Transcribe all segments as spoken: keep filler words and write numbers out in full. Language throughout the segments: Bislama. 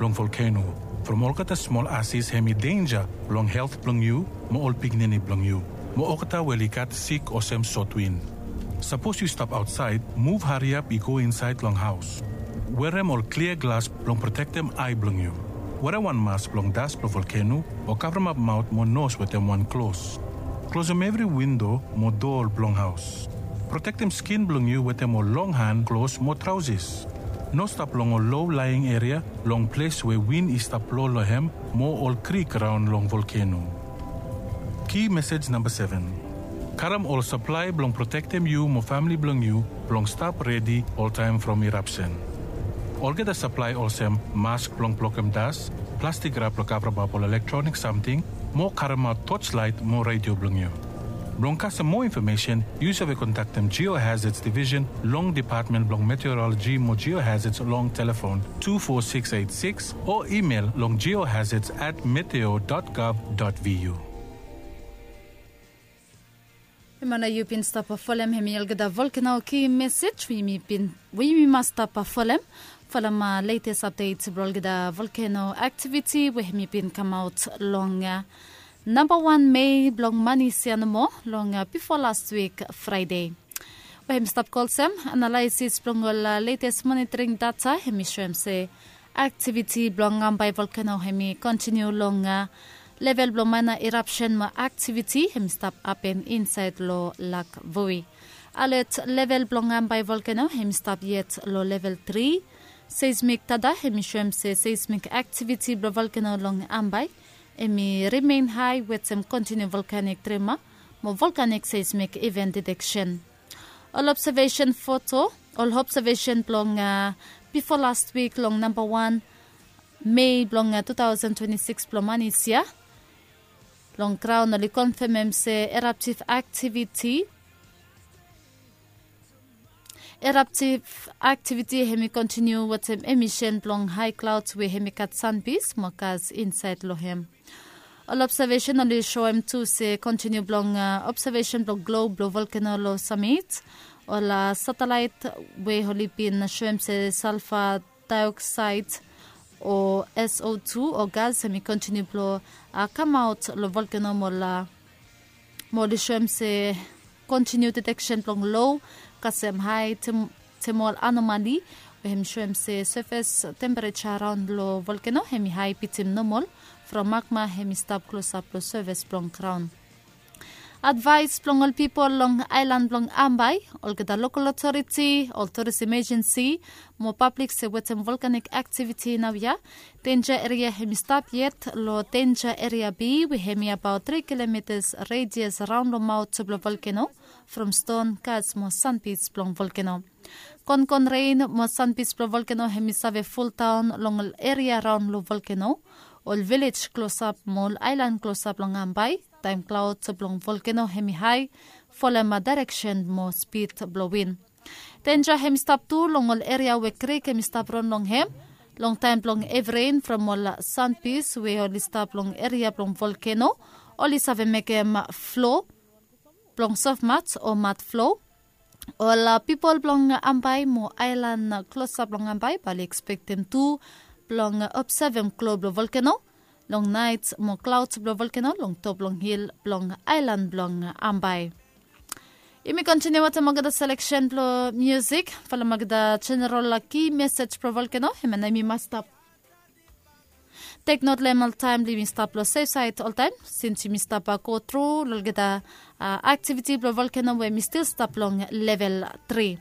long volkeno from olgeta smol asis hem i denja long helt blong yu mo ol pikinini blong yu mo olgeta we oli gat sik olsem sotwin. Sapos yu stap aotsaed, muv hariap i go insaed long haos. Werem ol klia glas blong protektem ae blong yu. Werem wan mas blong das blong volkeno o kavremap maot mo nos wetem wan klos. Klosem evri windo mo doa blong haos. Protektem skin blong yu wetem ol long han klos mo traosis. No stap long ol lo laing eria long ples we win i stap blo long hem mo ol krik raon long volkeno. Ki mesej namba seven. Karem ol saplae blong protektem yu mo famle blong yu blong stap redi oltaem from irapsen. Olgeta saplae olsem mask blong blokem das, plastik rap blong kavremap ol elektronik samting, mo karemaot toslaet mo redio blong yu. Blong kasem moa infomesen, yu save kontaktem Geohazards Division long Depatmen blong Meteoroloji mo Geohazards long telefon two four six eight six o imel long geohazards at meteo dot gov dot vu. Hemia nao yu bin stap folem hemi olgeta volkeno ki mesej we yumi bin we yumi mas stap folem. Folem letes apdet blong olgeta volkeno aktiviti we hemi bin kamaot long namba wan Mei blong manis ya nomo long bifo las wik Fraede. We hemi stap go olsem, analaesis blong ol letes monitoring data hemi soem se aktiviti blong ambae volkeno hemi kontiniu long level blong maena irapsen mo aktiviti hemi stap hapen insaed long lak voi. Alet level blong ambae volkeno hemi stap yet long level tri. Seismik data hemi soem se seismik aktiviti blong volkeno long ambae hemi rimen hae wetem kontiniu volkanik trema mo volkanik seismik iven diteksen. Ol obsevesen foto, ol obsevesen blong bifo las wik long namba wan Mei blong tu taosen twenti sikis blong manis ya long graon oli konfemem se eraptiv aktiviti eraptiv aktiviti hemi kontiniu wetem emisen blong hae klaods we hemi gat sanbis mo gas insaed long hem. Ol obsevesen oli soem tu se kontiniu blong obsevesen blong glob blong volkeno long samit ol satelaet we oli bin soem se salfa daeoksaed o S O two o gas hemi kontiniu blong kamaot long volkeno mo oli soem se kontiniu diteksen blong lo kasem hae temol anomali we hemi soem se sefes tempereja raon long volkeno hemi hae bitim nomol from magma hemi stap klosap long sefes blong graon. Advaes blong ol pipol long aelan blong Ambae, olgeta lokol otoriti, ol turism ejensi mo pablik se wetem volkanik aktiviti naoia, denja eria hemi stap yet long denja eria B we hemi abaot tri kilometas redias raon long maot blong volkeno from ston, gas mo sanbij blong volkeno. Konkon ren mo sanbij blong volkeno hemi save fuldaon long ol eria raon long volkeno, ol vilej klosap mo ol aelan klosap long Ambae taem klaod blong volkeno hemi hae folem daereksen mo spid blong win. Denja hemi stap tu long ol eria we krik hemi stap ron long hem long taem blong evi ren from ol sanbij we oli stap long eria blong volkeno oli save mekem flo blong sofmat o mat flo. Ol pipol blong Ambae mo aelan klosap long Ambae bae oli ekspektem tu blong obsevem klo blong volkeno long naet mo klaod blong volkeno long top blong hil blong aelan blong Ambae. Yumi kontiniu wetem olgeta seleksen blong miusik folem olgeta jeneral ki mesej blong volkeno hemia nao yumi mas stap teknot long hem oltaem blong yumi stap long sefsaed oltaem sins yumi stap go tru long olgeta aktiviti blong volkeno we yumi stil stap long level tri.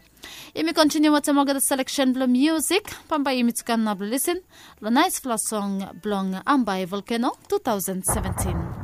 Yumi kontiniu wetem olgeta seleksen blong miusik bambae yumi tu kam nao blong lisin long naesfala song blong Ambae volkeno tu taosen seventin.